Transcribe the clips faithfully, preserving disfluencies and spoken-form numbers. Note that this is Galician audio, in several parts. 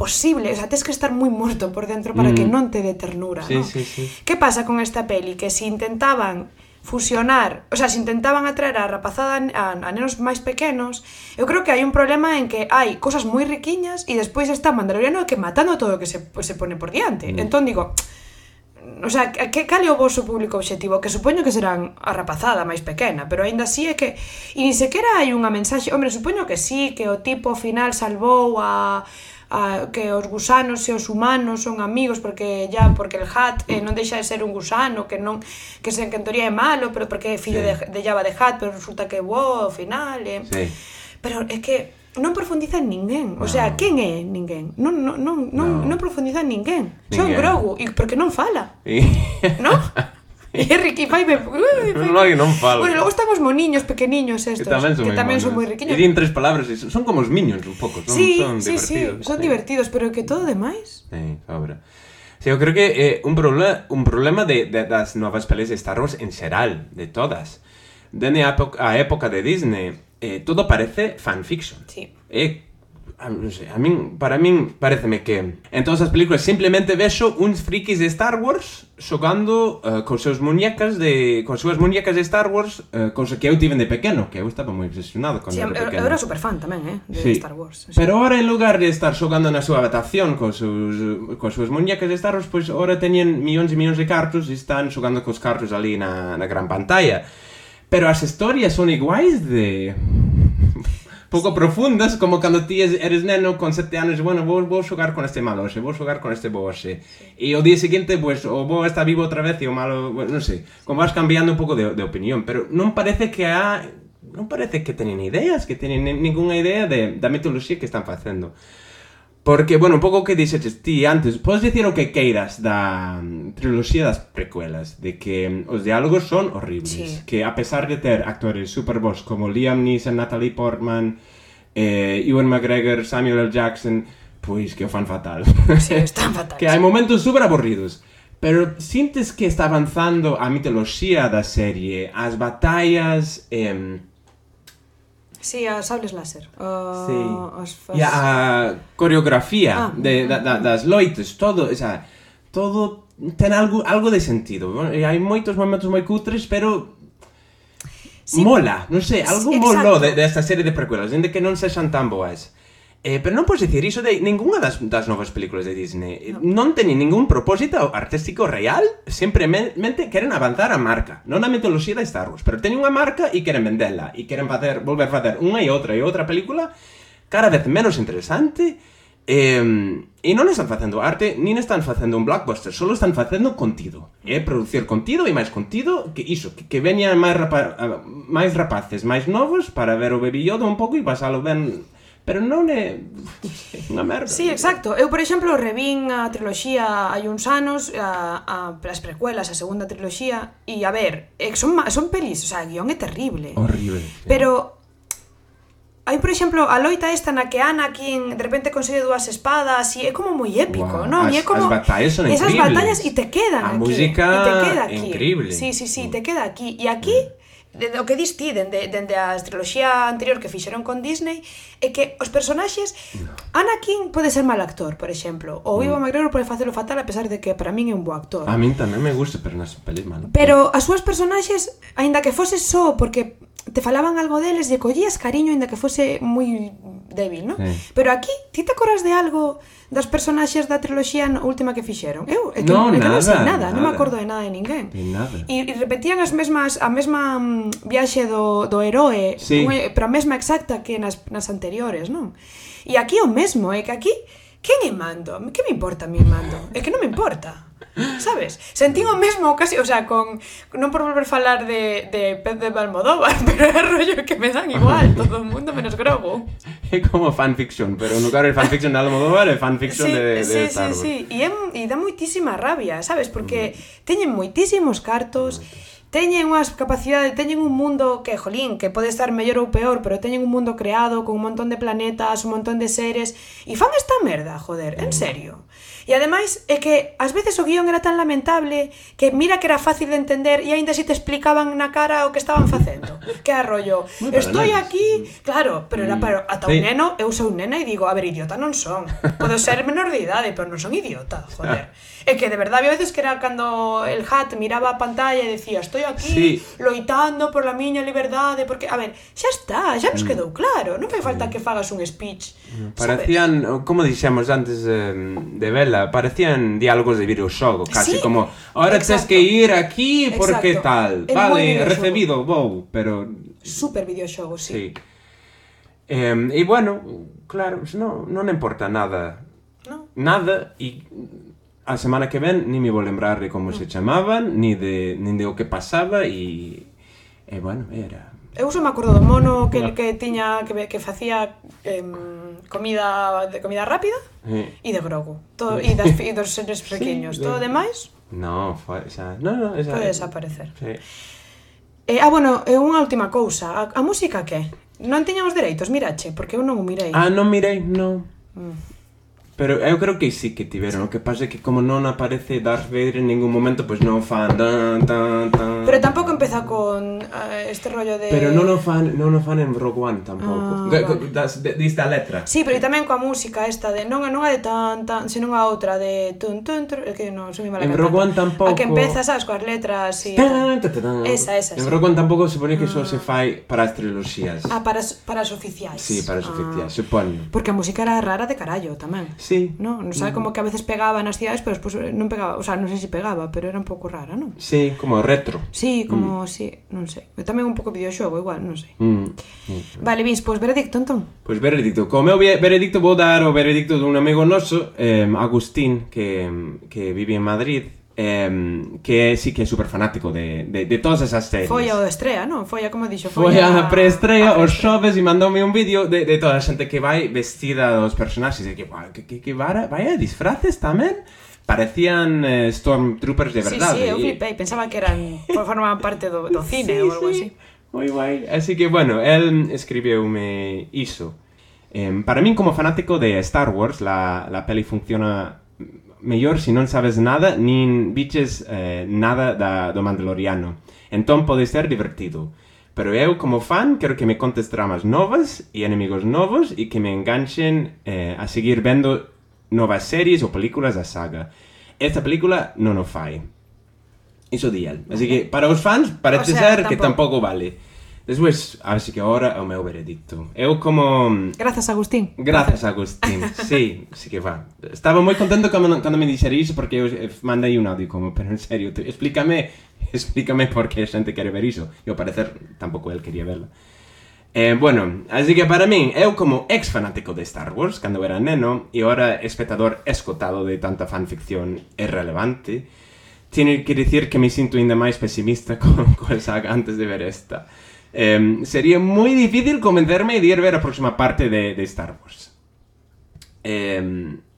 posible, o sea, tens que estar moi morto por dentro para mm. que non te dé ternura, sí, ¿no? Sí, sí. Que pasa con esta peli? Que si intentaban fusionar, o sea, se intentaban atraer a rapazada a, a nenos máis pequenos, eu creo que hai un problema en que hai cosas moi riquiñas e despois está Mandaloriano que matando todo o que se, se pone por diante. Mm. Entón digo, o sea, que cal é o vosso público objetivo? Que supoño que serán a rapazada máis pequena, pero aínda así é que e ni sequera hai unha mensaxe, hombre, supoño que sí, que o tipo ao final salvou a A, que os gusanos e os humanos son amigos porque ya porque el Hutt eh, non deixa de ser un gusano que non que se que en teoría é malo, pero porque é fillo sí. de, de Jabba de Hutt, pero resulta que é bo ao final, eh. sí. Pero é que non profundiza en ninguén, no. O sea, quen é ninguén? Non non non non, no. non profundiza en ninguén. Son Grogu e porque non fala. Sí. ¿No? E Ricky fai me... No, que non falo. Bueno, logo están os moniños pequeniños estos, que tamén son, que tamén son moi riquiños. E din tres palabras, son como os Minions un pouco, son, sí, son sí, divertidos. Sí, son sí. divertidos, pero que todo demais... Sí, sobra. Sí, eu creo que é eh, un, problema, un problema de, de, das novas pelis de Star Wars en xeral, de todas. Dende a época, a época de Disney, eh, todo parece fanfiction. Sí. É... A, non sei, a min, para min pareceme que en todas as películas simplemente vexo uns frikis de Star Wars xogando uh, con seus muñecas de con súas muñecas de Star Wars, uh, cosa que eu tiven de pequeno, que eu estaba moi obsesionado con sí, era pequeno. Eu era superfan tamén, eh, de sí. Star Wars. Sí. Pero ahora en lugar de estar xogando na súa adaptación con sus con súas muñecas de Star Wars, pois pues, ahora teñen millóns e millóns de cartos e están xogando cos cartos ali na, na gran pantalla. Pero as historias son iguais de pouco profundas, como cando ti eres neno con sete anos, bueno, vou, vou xogar con este malo hoxe, vou xogar con este bo hoxe. E o día seguinte, pues, o bo está vivo outra vez e o malo, bueno, non sei, como vas cambiando un pouco de, de opinión, pero non parece que ha... non parece que teñen ideas, que teñen ninguna idea de, da mitoloxía que están facendo. Porque, bueno, un pouco o que dixeches ti antes, podes dicir o que queiras da um, triloxía das precuelas, de que um, os diálogos son horribles, sí. Que a pesar de ter actores super bons como Liam Neeson, Natalie Portman, eh, Ewan McGregor, Samuel L. Jackson, pois que o fan fatal. Sí, están fatal. Que hai momentos super aburridos, pero sintes que está avanzando a mitoloxía da serie, as batallas... Eh, Sí, a sables láser. Uh, sí. As, as... E a coreografía ah, de, da, da, das loites, todo, o sea, todo ten algo, algo de sentido. E hai moitos momentos moi cutres, pero sí. Mola, non sei, algo sí, moló de, desta serie de precuelas, dende que non sexan tan boas. Eh, pero non podes dicir iso de ninguna das, das novas películas de Disney. No. Non teñen ningún propósito artístico real, simplemente queren avanzar a marca, non a mitoloxía de Star Wars, pero teñen unha marca e queren vendela, e queren facer, volver a facer unha e outra e outra película cada vez menos interesante, eh, e non están facendo arte, nin están facendo un blockbuster, solo están facendo contido, e eh, producir contido e máis contido, que iso, que, que veñan máis, rapa, máis rapaces, máis novos, para ver o Baby Yoda un pouco e pasalo ben... Pero non é unha merda. Sí, exacto. Eu, por exemplo, revín a triloxía hai uns anos, a, a, as precuelas, a segunda triloxía, e a ver, son, son pelis, o sea, o guión é terrible. Horrible. Sí. Pero hai, por exemplo, a loita esta na que Anakin de repente consigue dúas espadas e é como moi épico, wow. Non? As, e é como... as batallas son esas increíbles. Batallas e te quedan a aquí. Música e te queda aquí. Increíble. Sí, sí, sí, te queda aquí. E aquí... De, o que dis ti, dende, dende a triloxía anterior que fixeron con Disney, é que os personaxes, no. Anakin pode ser mal actor, por exemplo, ou Ewan mm. McGregor pode facelo fatal a pesar de que para min é un bo actor. A min tamén me gusta, pero nas pelis malo. Pero as súas personaxes, aínda que fose só porque te falaban algo deles e collías cariño aínda que fose moi débil, non? Sí. Pero aquí, ti te acordas de algo das personaxes da triloxía última que fixeron? Eu, é que, no, é que nada, non sei nada, nada, non me acordo de nada de ninguén. De nada. E, e repetían as mesmas, a mesma um, viaxe do, do heroe, sí. un, pero a mesma exacta que nas, nas anteriores, non? E aquí o mesmo, é que aquí, quen é mando? Que me importa a mí mando? É que non me importa. Sabes? Sentín o mesmo casi, o sea, con non por volver a falar de, de Pez de Almodóvar, pero é rollo que me dan igual todo o mundo menos Grogu. É como fanfiction, pero no lugar de fanfiction de Almodóvar é fanfiction sí, de, de sí, Star Wars. Sí, sí, sí, e, e dá moitísima rabia, sabes? Porque mm. teñen moitísimos cartos teñen unhas capacidades, teñen un mundo que, jolín, que pode estar mellor ou peor, pero teñen un mundo creado con un montón de planetas, un montón de seres, e fan esta merda, joder, en serio. E ademais é que ás veces o guión era tan lamentable que mira que era fácil de entender e aínda si te explicaban na cara o que estaban facendo. Que arrollo, estou aquí, claro, pero era para ata un neno, eu sou nena e digo, a ver, idiota non son. Podo ser menor de idade, pero non son idiota, joder. É que de verdade había veces que era cando el Hat miraba a pantalla e decía, estou aquí sí. loitando por la miña liberdade, porque, a ver, xa está, xa nos quedou claro, non fai falta que fagas un speech. Parecían, ¿sabes? Como dixemos antes eh, de Vela, parecían diálogos de videoxogo, casi sí, como, ahora tens que ir aquí porque exacto. tal, el vale, recibido, vou, pero... Super videoxogo, sí. sí. Eh, e bueno, claro, non, non importa nada, no. nada, e... A semana que ven ni me vou lembrar de como se chamaban, ni de, ni de o que pasaba e, e bueno, era... Eu só me acordo do mono que, que tiña, que, que facía eh, comida de comida rápida e eh. de Grogu, todo, e, das, e dos seres pequeños, sí, todo de... demais... No, foi, xa, no, no, esa... Pode desaparecer. Sí. Eh, ah, bueno, é unha última cousa, a, a música que? Non tiñamos dereitos, mirache, porque eu non o mirei. Ah, non mirei, non. Mm. Pero eu creo que sí que tiveron, o que pasa é que como non aparece Darth Vader en ningún momento, pois pues non fan tan, tan, tan... Pero tampouco empeza con uh, este rollo de... Pero non o fan, non o fan en Rogue One tampouco. Ah, vale. das, de, dista a letra. Sí, pero tamén coa música esta de... Non, non a de tan, tan, senón a outra de... Tun, tun, tun, que non soy mala en cantante. Rogue One tampouco... A que empeza, sabes, coas letras e... Tan, tan, tan, tan. Esa, esa, en Rogue One tampouco supone que só se fai para as triloxías. Ah, para as, para as oficiais. Sí, para as ah. oficiais, supoño. Porque a música era rara de carallo tamén. Sí. No, non sabe como que a veces pegaba nas cidades, pero despois non pegaba, o sea, non sei se pegaba, pero era un pouco rara, non? Sí, como retro. Sí, como, mm. sí, non sei. E tamén un pouco videoxogo, igual, non sei. Mm. Mm. Vale, Vince, pois veredicto, entón? Pois veredicto. Como meu veredicto vou dar o veredicto dun amigo noso, eh, Agustín, que, que vive en Madrid, eh, que sí que é super fanático de, de, de todas esas series. Foi a estrea, non? Foi a, como dixo, foi, foi a, a preestrea, os xoves, e mandoume un vídeo de, de toda a xente que vai vestida dos personaxes, e que, que, que, que vaya, vaya disfraces tamén. Parecían eh, Stormtroopers de verdade. Sí, sí, eu flipei, pensaba que eran, formaban parte do, do cine sí, ou algo sí. así. Moi guai. Así que, bueno, el escribiume iso. Eh, para min, como fanático de Star Wars, la, la peli funciona mellor se non sabes nada, nin biches eh, nada da, do Mandaloriano. Entón pode ser divertido. Pero eu, como fan, quero que me contes tramas novas e enemigos novos e que me enganchen eh, a seguir vendo novas series ou películas da saga. Esta película non o fai. Iso di el. Así que, para os fans, parece o sea, ser tampouco. Que tampouco vale. Despois, así que agora é o meu veredicto. Eu como... Grazas, Agustín. Grazas, Agustín. Sí, sí que va. Estaba moi contento cando, cando me dixera iso porque eu mandei un audio como, pero en serio, te, explícame, explícame por que a xente quere ver iso. E ao parecer, tampouco el quería verla. Eh, bueno, así que para min, eu como ex fanático de Star Wars, cando era neno, e ahora espectador escotado de tanta fanficción irrelevante, tiene que dicir que me sinto ainda máis pesimista con, con el saga antes de ver esta. Eh, sería moi difícil convencerme de ir ver a próxima parte de, de Star Wars. Eh,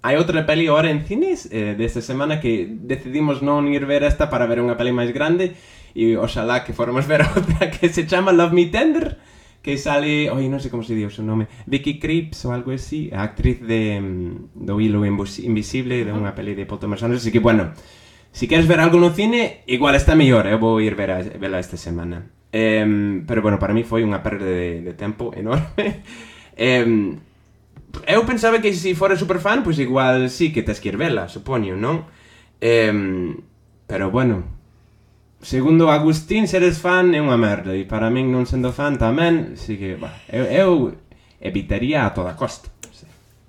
hai outra peli ahora en cines eh, desta semana que decidimos non ir ver esta para ver unha peli máis grande e oxalá que formos ver outra que se chama Love Me Tender, que sale, oi, non sei como se di o seu nome, Vicky Krieps ou algo así, a actriz de do Hilo Invisible, de unha peli de Paul Thomas Anderson. Así que, bueno, si queres ver algo no cine, igual está mellor, eu vou ir ver a, verla esta semana. Eh, pero, bueno, para mí foi unha perda de, de tempo enorme. eh, eu pensaba que se fora superfan, pois igual sí que tes que ir vela, supoño, non? Eh, pero, bueno, segundo Agustín, seres fan é unha merda, e para min non sendo fan tamén, así que, bah, eu, eu evitaría a toda costa.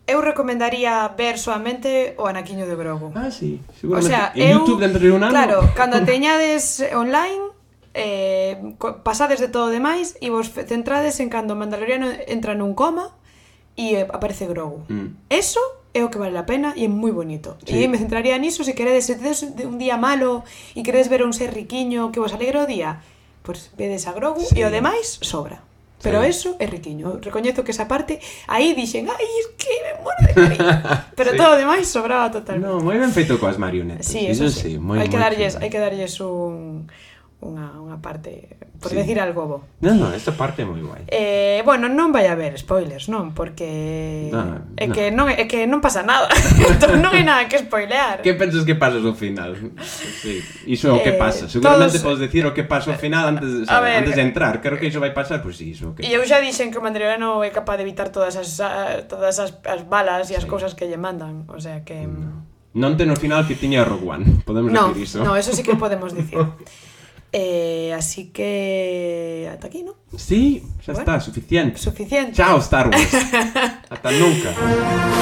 Eu recomendaría ver soamente o Anaquiño de Grogu. Ah, sí, seguramente. O sea, en eu, YouTube dentro de un ano. Claro, cando teñades online, eh, pasades de todo demais e vos centrades en cando o Mandaloriano entra nun coma e eh, aparece Grogu. Mm. Eso é o que vale a pena e é moi bonito. Sí. E me centraría niso se queredes, se tedes un día malo e queredes ver un ser riquiño que vos alegre o día, pois pues vedes a Grogu sí. E o demais sobra. Pero sí. Eso é riquiño. Recoñezo que esa parte aí dixen, ai, es que me muero de cariño. Pero sí. Todo o demais sobraba totalmente. No, moi ben feito coas marionetas. Sí, eso, eso sí. sí. Moi, hai que moi darlles, hai que darlles un unha, unha parte, por Sí. decir algo bo. Non, non, esta parte é moi guai. Eh, bueno, non vai haber spoilers, non? Porque No, é no. que non é que non pasa nada. Entón non hai nada que spoilear. Que pensas que pasa ao final? Sí, iso é o que Eh, pasa. Seguramente todos- podes decir o que pasa ao final antes, A sabe, ver, antes de entrar. Creo que iso vai pasar, pois pues sí, iso que E eu xa dixen que o Mandaloriano é capaz de evitar todas as ah, todas as, as balas e as Sí. cousas que lle mandan, o sea que non ten o final que tiña Rogue One. Podemos no, decir iso. no, eso sí que podemos dicir. eh, así que ata aquí, ¿no? Sí, xa Bueno, está, suficiente. Suficiente. Chao, Star Wars. Ata nunca.